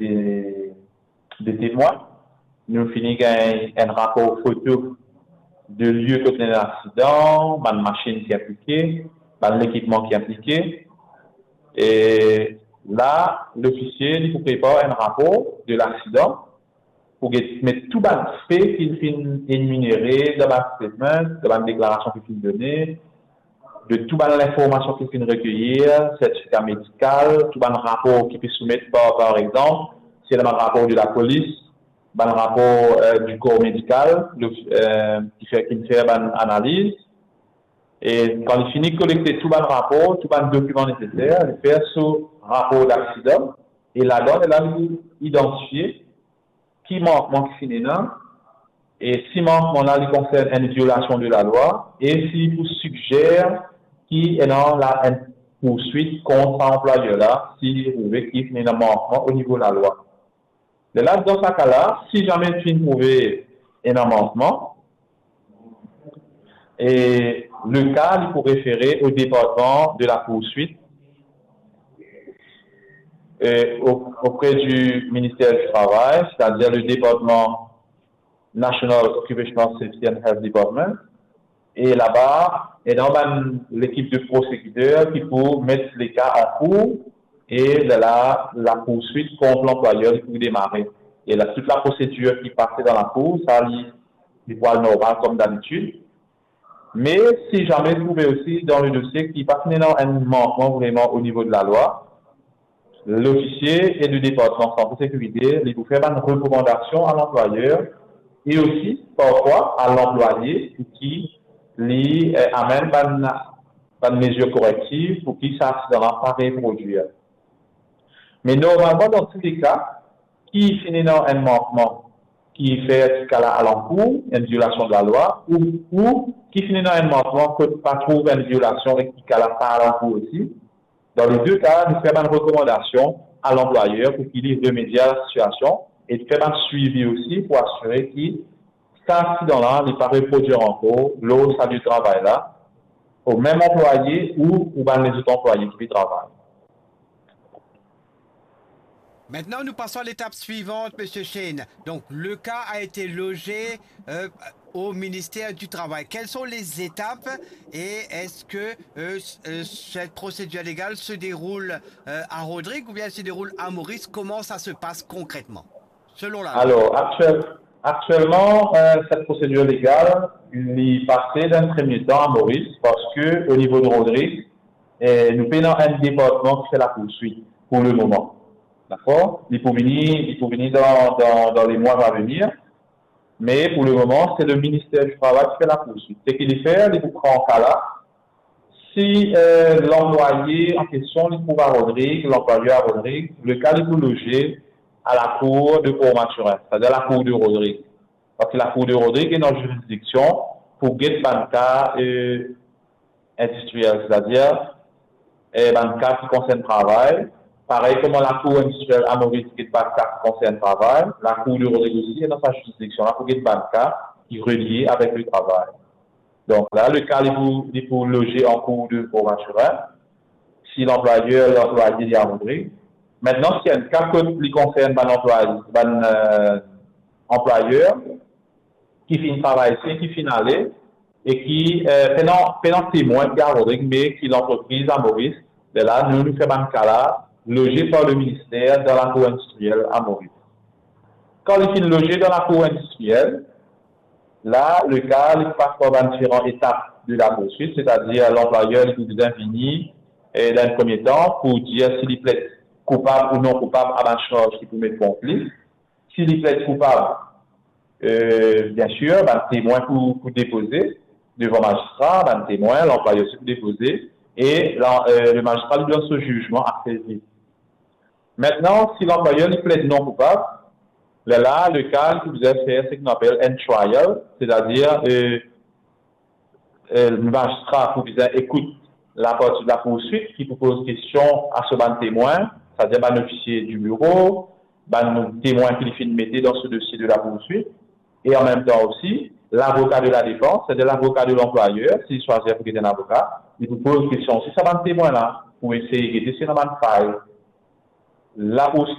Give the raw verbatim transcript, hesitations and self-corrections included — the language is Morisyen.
de, de temwin. Nou fini gagn enn rapor foto de lie kot ena lasidan, bann masinn ki inplike, bann lekipman ki inplike. E la, lofisie, li pou prepar enn rapor de lasidan pou get, met tou bann fe ki li finn eminere dan bann statement, dan bann deklarasion ki finn done, de tou bann linformasion ki finn rekeyi, sertifika medikal, tou bann rapor ki pe soumet, par, par exanp, si ena bann rapor de lapolis, bann rapor, eh, di kor medikal, le, eh, ki fer, ki fer bann analiz. E kan li fini kolekte tou bann rapor, tou bann dokiman neseser, li fer so rapor daksidan, e ladan, la li idantifie ki mankman ki finn ena, e si mankman la li konsern enn violasion de lalwa, e si pou sigzer ki ena la enn pourswit kont sa anplwayer la, si li trouve ki finn ena mankman o nivo lalwa. Lerla, dan sa ka la, si zame finn trouve ena mankman, e le ka li pou refere o departman de la poursuite, euh, au- auprès du ministère du Travail, c'est-à-dire le département National Occupational Safety and Health Department. E laba, ena bann lekip de prosekider ki pou met le ka an kour, e la, la poursuit kont lanplwayer li pou demare. E la, tout la prosedir ki pase dan lakour, sa li, li pou al normal kom dabitid. Me si zame trouve osi dan le dosie ki pa finn ena enn mankman vreman o nivo de lalwa, lofisie e de departman sante sekirite, li pou fer bann rekomandasion a lanplwayer, e osi, parfwa, a lanplwaye pou ki li, eh, amenn bann, bann mezir korektif pou ki sa aksidan la pa reprodwir. Me normalman, dan tou le ka, ki finn ena enn mankman ki fer ki ka la al an kour, enn violasion de lalwa, ou, ou ki finn ena enn mankman kot pa trouv enn violasion e ki ka la pa al an kour osi, dan le de ka, nou fer bann rekomandasion a lanplwayer pou ki li remedie a la sitiasion e fer bann swivi osi pou asire ki sa aksidan la, li pa reprodwir ankor lor sa lie travay la, o mem anplwaye ou, ou bann lezot anplwaye ki pe travay. Maintenant, nous passons à l'étape suivante, Monsieur Shane. Donc, le cas a été logé euh, au ministère du Travail. Quelles sont les étapes et est-ce que euh, s- euh, cette procédure légale se déroule euh, à Rodrigues ou bien elle se déroule à Maurice ? Comment ça se passe concrètement, selon la loi ? Alors, actuel- actuellement, euh, cette procédure légale, li pase dan enn premie tan a Moris, parski o nivo de Rodrig, eh, nou pena enn departman ki fer la poursuit pou le moman. Dakor ? Li pou vini, li pou vini dan, dan, dan le mwa a venir. Me pou le moman, se le Minister di Travay ki fer la poursuit. Seki li fer, li pou pran ka la. Si, eh, lanplwaye an kestion, li trouv a Rodrig, lanplwayer a Rodrig, le ka li pou loze a lakour de Port Mathurin, setadir lakour de Rodrig. Parski lakour de Rodrig ena zirizidiksion pou get bann ka, eh, indistriel, setadir, eh, bann ka ki konsern travay. Parey kouma lakour indistriel a Moris get bann ka ki konsern travay, lakour de Rodrig osi ena sa zirizidiksion la pou get bann ka ki relie avek le travay. Donk la, le ka li pou, li pou loze an kour de Port Mathurin, si lanplwayer, lanplwaye li a Rodrig. Mintnan, si enn ka kot li konsern bann anplwaye, bann, eh, anplwayer, ki finn travay isi, ki finn ale, e ki, eh, pena, pena temwin ki a Rodrig, me ki lantrepriz a Moris, lerla, nou, nou fer bann ka la loze par le minister dan lakour indistriel a Moris. Kan li finn loze dan lakour indistriel, la, le ka, li pas par bann diferan etap de la poursuit, setadir lanplwayer, li pou bizin vini, eh, dan enn premie tan, pou dir si li pled koupab ou non koupab a bann sarz ki pou met kont li. Si li pled koupab, eh, biensir, bann temwin pou, pou depoze devan mazistra, bann temwin, lanplwayer osi pou depoze, e la, eh, le mazistra li donn so zizman ase vit. Mintnan, si lanplwayer li pled non koupab, lerla, le ka, li pou bizin fer seki nou apel enn trial, setadir, eh, eh, mazistra pou bizin ekout laparti de la poursuit ki pou poz kestion a so bann temwin, setadir bann ofisie di biro, bann temwin ki li finn mete dan so dosie de la poursuit, e an mem tan osi, lavoka de la defans, setadir lavoka de lanplwayer, si li swazir pou get enn avoka, li pou poz kestion osi sa bann temwin la, pou esey gete si ena bann fay. La poursuit